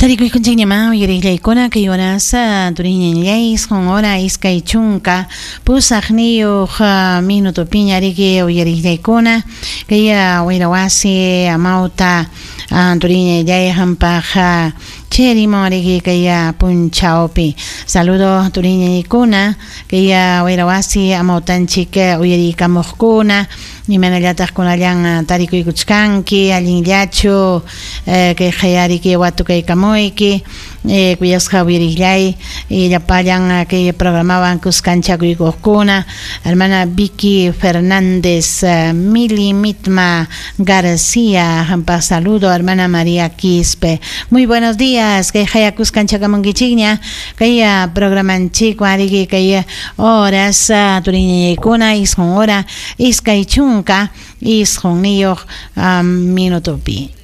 Tarikuykunchikñamá uyariqllaykuna kay horas turiñanllay isqun hora 28 minutopiña riki uyariqllaykuna kay wayra wasi amawta turiñanllay hampaq chayarimun riki kay punchawpi. Saludo turiñaykuna kay wayra wasi amawtanchik uyariykamuqkuna imanallataq kunallan tarikuykuchkanki allinllachu kay qayariki watukaykamuyki kuyasqa uyariqllay llapallan kay programawan kuskanchakuykuqkuna hermana Vicky Fernández, Mili Mitma García, hampaq saludo hermana María Quispe. Muy buenos días, kay qaya kuskanchakamunkichikña kay programanchikwan riki kay horas turiñaykuna 9 hora 29 minutopi.